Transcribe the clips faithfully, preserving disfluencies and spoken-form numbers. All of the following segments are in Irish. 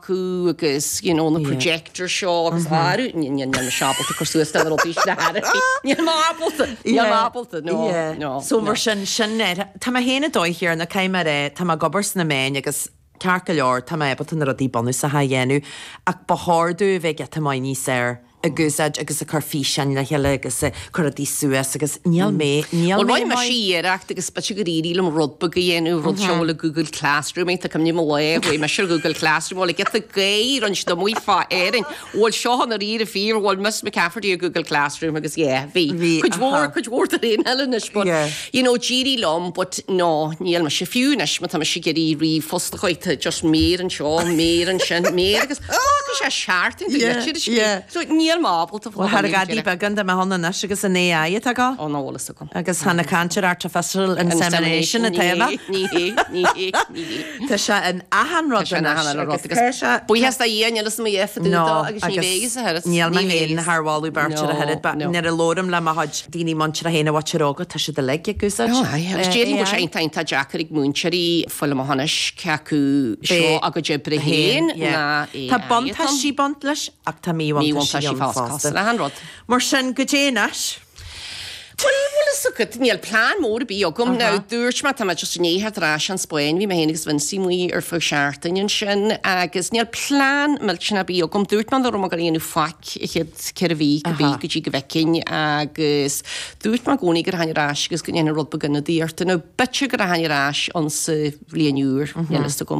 acu agus you know na projector seo agus aru níl mise ábalta cur suas le rudaí na Níl mé ábalta Níl mé ábalta no no. So mar sin sin tá mé féin a dóigh na caiimar é tá mé ag obair sna meáin agus ceart go leor tá mé ábalta na rudaí bunúsacha a dhéanamh ach ba chóir domh bheith giota maith níos fearr ag úsáid agus ag cur físeáin le chéile agus cur rudaí suas agus níl mé níl Well mé rinne mise iarracht agus b'fhéidir gur éirigh liom rud beag a dhéanamh rud seo le Google Classroom tá cumní mo le bhí me Google Classroom le get gair an do mu fa éin bhfuil seo an rí fíor bhfuil Miss McCafferty ar Google Classroom agus yeah bhí Bhí, Cuid mhór aha. cuid mhór de réin eile but Yeah. you know d'éirigh liom but no níl mise fiú anois má tá mise ag iarraidh ríomhphost a chuid just méar anseo méar ansin méar agus agus sé seart Yeah, yeah. So níl mé ábalta Well thar gadaí beagán de me honna agus an AI atá go ó ná bhfuil agam. agus hena cantir artificial insemination atá Ní hé ní hé ní hé. Tá sé in achan rud Agus Buíochas le Dia níl me No, agus ní bhégus a Níl me héin tharháú beirt a head ba nar a lórim le ma chuid daoine muinteartha féin a bhhair óga tá sé de le agúsáid. Agus déarfainn go sé tá deacair ag múinteoirí fuil hanis ceacu seo agus oibre féin ná Tá buntáistí baint leis ach tá míbhuntáistí fásta le han rud. Mar sin go déanais. Well níl plean mór bí agam ná dúirt má tá just néhar éis an Spáin, bhí mé féin agus Vincy amuigh ar feadh seachtain sin agus níl plean millteanach bí agam dúirt man rom go dhéanú faic chéad ceithre mhí go bí go dtí go bhfeicfinn agus dúirt má gcóí gur hain éis agus go ndéana rud beag díorta nó b'fhéidir gur hain éis an sa bhliain úr go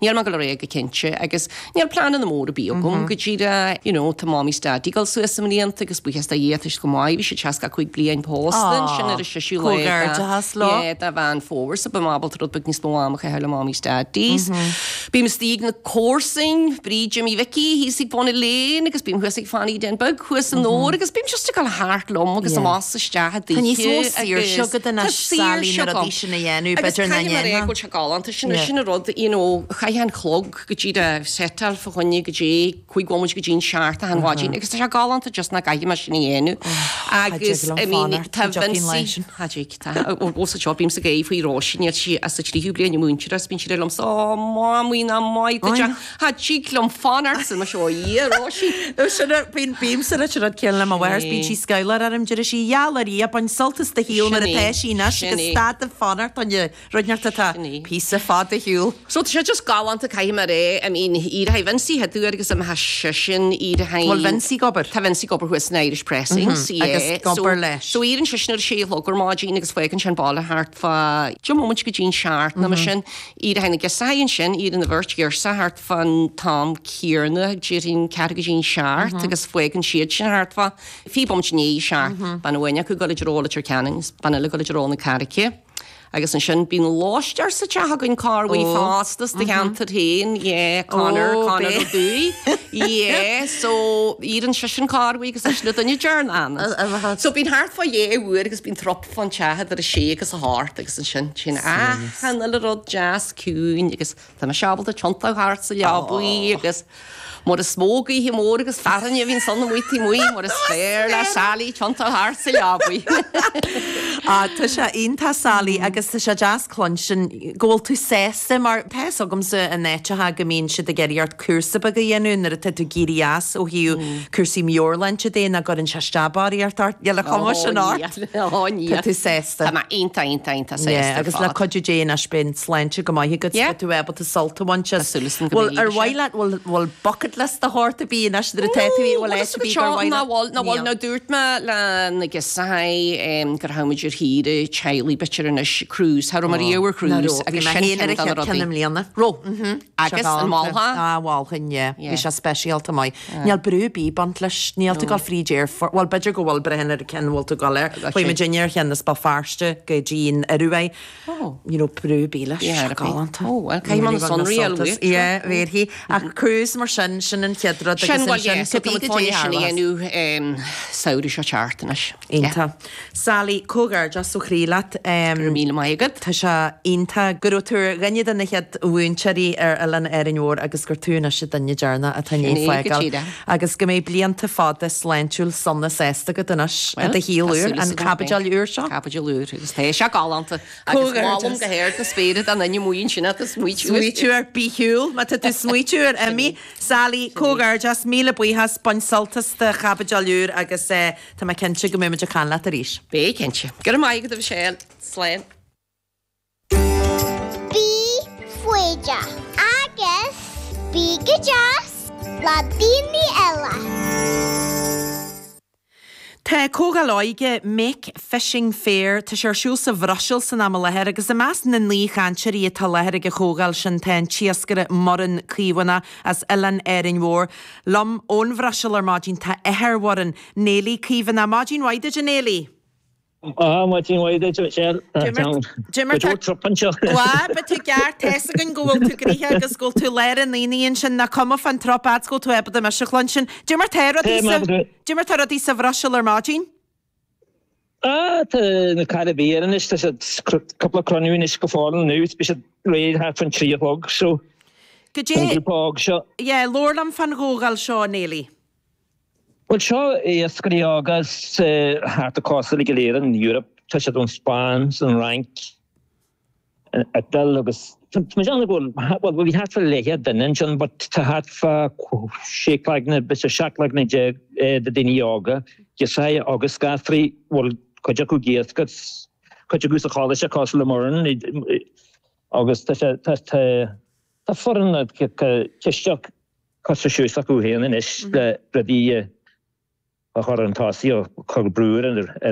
níl má go ré go cinnte agus níl plean na mór bí agam go dtí you know tá mamaí 's daidí ag dul suas i mblianta agus buíochas le Dia go maith bhí sé seasca cúig bliain pósta sin ar a séú Comhghairdeas leo. de Mheán Fómhair sa b'ábalta rud beag níos mó ama a le mamaí 's daidís. Bím istigh na comharsain Bríd Jimmy Vicky hí ag bonna léin agus bím thuas ag Fanny den bug thuas an nóir agus bím just ag thart liom agus amach isteach Tá níos mó saoirse agat anois Sally na rudaí sin a dhéanamh b'fhéidir na ndéanfá. go se galánta sin sin rud you know, chaith an clog go dtí de setal fa choinne go dtí chuig bhmuid go dtín seart a hanháidín agus tá sé galánta just na gcaithfidh mé sin a dhéanamh. Agus I mean, tá Vincy ó sa bím sa gé faoi Róisín níl sí as a tríú bliain múinteoir bíonn sí liom sá mámuí ná maith Ha tí liom fanacht san seo í Róisín. Bíon bím sa le rud céanna le mo mháthair bíonn sí scálar arm deir sí ealar í a bain sult as do shaol mar atá sí anois agus stad de fanacht an rudneart atá píosa fada shiúl. So tá sé just galánta caithfidh mé rá I mean iad ha Vincy ha dúir agus am ha sin iad ha Bhfuil Vincy ag obair? Tá Vincy ag obair thuas in Irish Pressings Agus ag obair leis. So éiríonn sé sin ar sé gur maidin agus fágann sin baile thart fá deich móimint go dtín seacht na sin iad ha na gesáin sin iad na bheirt ghearsa thart fan tam céanna déarfainn ceathrú go dtín seacht agus fágann siad sin thart fá fiche bomaite i ndiaidh seacht bean amháin acu go dtí Leitir Ceanainn bean eile go dtí na Carraice. Agus ansin bíonn lóistear sa teach againn carhaí fásta de cheantar féin, yeah, Conor Ó, Conor bé. Ó Dúi. Yeah, so iad an se sin carhaí agus leis na duine dearna. So bíonn thart fá dhé uair agus bíonn trup fan teach ar a sé agus a hocht agus ansin sin achan uile rud deas ciúin agus tá mé ábalta tiontú thart sa leabaidh agus Mar is mó gaoithe mór agus fearthainn a bhíonn san amuigh muí mar is féidir le Sally tiontú thart sa leabaidh. Á tá sé iontach Sally agus tá sé deas cluinstin go bhfuil tú sásta mar tá agamsa in áiteacha go mbíonn siad ag iarraidh ort cúrsa beag a dhéanamh nuair atá tú ag éirí as ó thaobh cúrsaí meabhairshláinte de ná gcuireann sé steabáireacht ort le chuma sin ort. Tá tú sásta. Tá mé iontach iontach iontach Yeah, sásta agus le cuidiú Dé anois beidh an sláinte go maith agat Yeah. tú ábalta sult a bhaint as. Tá súil agam go Bhfuil mbeidh ar sé. mhaith leat bhfuil bhfuil bucket list a thabhairt a bí anois nuair atá tú bhfuil áit a bí gur mhaith ná leat? bhfuil ná bhfuil Níl. ná dúirt mé le na gisahai gur tháinig ar shaoire teaghlaigh b'fhéidir anois cruise Thar mar ar cruise Bhí mé féin ar a chéad ceann i mbliana. Ro agus an máltha Á bhálchain é Yeah. Bhí sé speisialta maith. Níl brú ar bith baint leis níl tú ag dul fríd aerfort Well b'fhéidir go bhfuil brein ar cin bhfuil tú gal air. Got Chuaigh you. muid ar cheann as Béal Feirste go dtí an Ioruaidh. Oh. You know, brú ar bith leis Yeah, galánta. Oh, well, caithfidh mé na sonraí a luaith. Yeah, bhéarfaidh. Ach cruise mar sin sin an chéad rud Sin agus bhfuil ansin yeah, so cibé tá go dté sin tharla. dhéanamh samhradh seo teacht anois. Iontach. Sally comhghairdeas Comhghairdeas ó chroí leat. Go raibh míle maith agat. Tá sé iontach go raibh tú ar dhuine de na chéad mhúinteoirí ar Oileán Árainn Mhór agus gur tú anois an duine deireanach atá i ndiaidh fágáil. Agus go mbeidh blianta fada sláintiúil sona sásta agat anois i do shaol úr, an chaibidil úr seo. Caibidil úr agus tá sé galánta. Agus molaim go hard na spéire don duine amuigh ansin atá ag smaoitiú. Smaoitiú air, bí shiúl, má tá tú ag smaoitiú air imigh. Sally, comhghairdeas, míle buíochas, bain sult as do chaibidil úr agus tá mé cinnte go mbeidh muid ag caint leat arís. Beidh cinnte. Go raibh maith agat a Mhichelle. Slán. Bí foighdeach agus bí go deas le daoine eile. Tá comhdháil óige Make Fishing Fair, tá sé ar siúl sa Bhruiséil san am i láthair agus i measc na n-aoichainteoirí atá i láthair ag an chomhdháil sin tá an t-iascaire Muireann Caomhánach as Oileán Árainn Mhór. Liom ón Bhruiséil ar maidin tá athair Mhuireann, Néilí Caomhánach. Maidin mhaith duit a Néilí! Ah, maidin mhaith duit, Michelle. D'imir Go trup anseo. Wá, ba tú ceart tá fhios againn go bhfuil tú gnoitheach agus go bhfuil tú lár an aonaigh ansin nach cuma fán trup fhad 's go bhfuil tú ábalta mise a chluinstin. Cad é mar tá rudaí sa Cad é mar tá rudaí sa Bhruiséil ar maidin? Ah, tá na carranna ar anois, tá siad cúpla cruinniú anois go fóill inniu, beidh siad réidh thart fán trí a chlog, so Go an dé grúpa óg seo. Yeah, labhair liom fán chomhdháil seo, a Néilí. Bhuel, seo iascairí óga thart an cósta uilig go léir in Europe. Tá siad ón Spáinn, 's an Fhrainc, an Iodáil agus tá mé ag déanamh go bhfuil, bhuel bhí thart fá leathchéad duine ansin but tá thart fá sé cloigne, b'fhéidir seacht gcloigne déag de daoine óga, girseachaí agus gasraí, bhuel cuid acu ag iascach, cuid acu sa choláiste cosúil le Muireann agus tá sé, tá, tá, tá foireann cisteach curtha suas acu féin anois le rudaí a chur chun tosaigh, a chur brú ar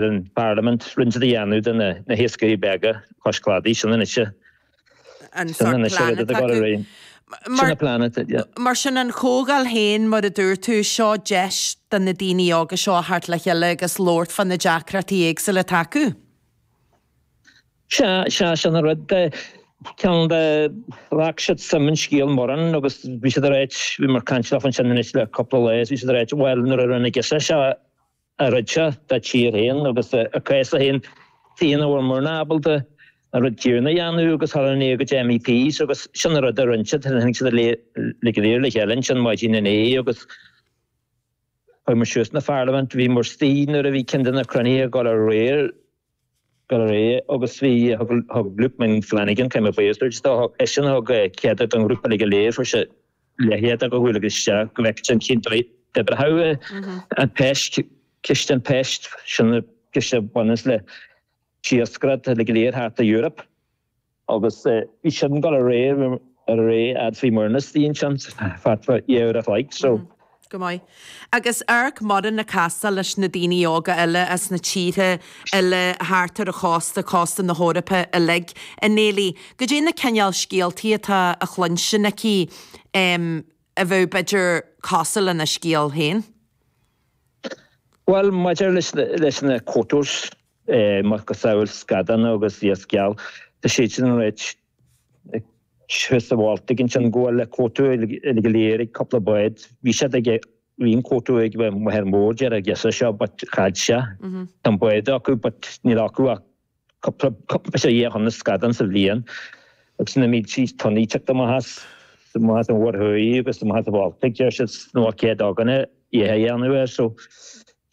an bParlaimint roinnt a dhéanamh de na hiascairí beaga cois cladaigh, sin anois an sin sórt anois plean rud atá atá acu. ar Sin an plean atá, yeah. Mar sin an chomhdháil féin, mar a dúirt tú, seo deis do na daoine óga seo a theacht le chéile agus labhairt fá na deacrachtaí éagsúla atá acu. Sea, sea, sin an rud. Ceann de, ghlac siad suim in scéal Muireann agus bhí siad ag ráit, bhíomar ag caint leofa ansin anois le cúpla lá is bhí siad ag ráit, bhuel, nuair a rinne girseach seo a rud seo dá tír féin agus a cás féin, tuige nach bhfuil muidne ábalta an rud céanna a dhéanamh agus dhul inár gcuid MEPs agus sin an rud a rinne siad, tháinig siad le go léir le chéile ansin maidin inné agus chuaigh muid suas na Pharlaimint, bhí muid istigh nuair a bhí ceann de na cruinnithe ag dul ar aghaidh. Go réidh agus bhí, thug Luke Ming Flanagan, caithfidh mé buíochas a thabhairt dó, thug eisean a thug cead don ghrúpa uilig go léir, fuair sé leathchéad acu a ghabháil isteach go bhfeicfeadh sé cén dóigh a d'oibreodh an PEST, ciste an PEST, sin an ciste a bhaineas le hiascaireacht uilig go léir thart i Europe. Agus bhí sin ag dul ar aghaidh, ar aghaidh fhad 's bhí muidne istigh ansin, thart fá dhá uair a chloig, so. Go maith. Agus amharc Muireann ag castáil leis na daoine óga eile as na tíortha eile thart ar an chósta, cósta na hEorpa uilig. A Néilí, goidé na cineál scéaltaí atá á chluinstin aici a bheadh b'fhéidir cosúil lena scéal féin? Bhuel, maidir leis na quotas, macasamhail scadán agus iasc geal, tá siad sin ag ráit thuas sa Bhaltaigh ansin go bhfuil quota uilig go léir ag cúpla bád. Bhí siad ag, bhí an quota ag Machaire Mór deir an girseach seo but chaill sé. Tá an bád acu but níl acu ach cúpla, cúpla sé dhá thonna scadán sa bhliain agus na mílte tonnaí ag teacht amach as, amach as an Mhuir Thuaidh agus amach as an Bhaltaigh deir siad nó cead againne é a dhéanamh air so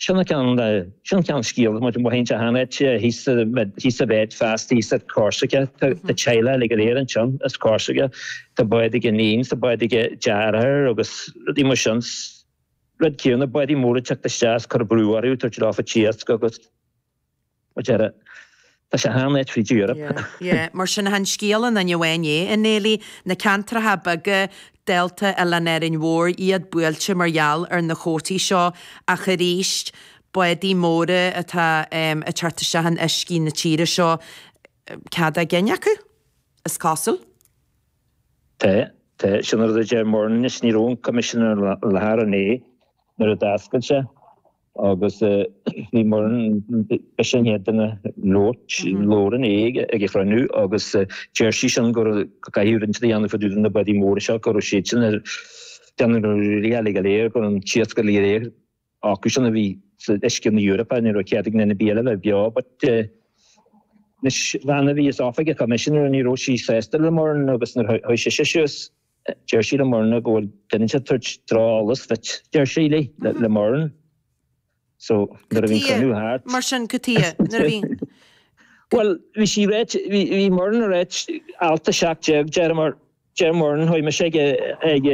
Sin an ceann, sin an ceann scéal, muid amuigh insa shean-áit thíos thíos sa bhád feasta thíos ar Corsica. Tá teaghlach uilig go léir ansin as Corsica. Tá bád ag iníon, tá bád ag deartháir agus rudaí mar sin. Rud céanna, bádaí móra ag teacht isteach is cur brú orthu, tabhairt leofa t-iasc agus. Mar deireadh, tá sé an-ait fríd Europe. Yeah, yeah. Mar sin, chan scéal aon duine amháin é, a Néilí. Na ceantracha beaga, dálta Oileán Árainn Mhór, iad buailte mar gheall ar na cuótaí seo, ach arís, bádaí móra atá ag teacht isteach in uiscí na tíre seo, cead a gcinn acu, is cosúil. Tá, tá. Sin an rud a deir Muireann anois, ní raibh an Coimisiún i láthair inné nuair a d'oscail sé. Agus bhí Muireann, b'ise an chéad duine labhairt, labhair inné ag an chruinniú agus deir sí sin go raibh, go gcaithfidh roinnt a dhéanamh fá dtaobh de na bádaí móra seo, go raibh siad sin ag déanamh na rudaí uilig go léir, go raibh an t-iasc uilig go léir acu sin a bhí san uisce na hEorpa, ní raibh cead ag duine ar bith eile a bheith beo but Anois bhean a bhí as oifig an Choimisinéara ní raibh sí sásta le Muireann agus nuair a chuaigh sise suas deir sí le Muireann go bhfuil duine ag tabhairt drocheolas duit, deir sí léi, le Muireann. So nuair a bhí an cruinniú thart. Mar sin cad chuige nuair a bhí. Bhuel bhí sí ráit, bhí bhí Muireann ag ráit alt a seacht déag deir mar deir Muireann chuaigh mise ag ag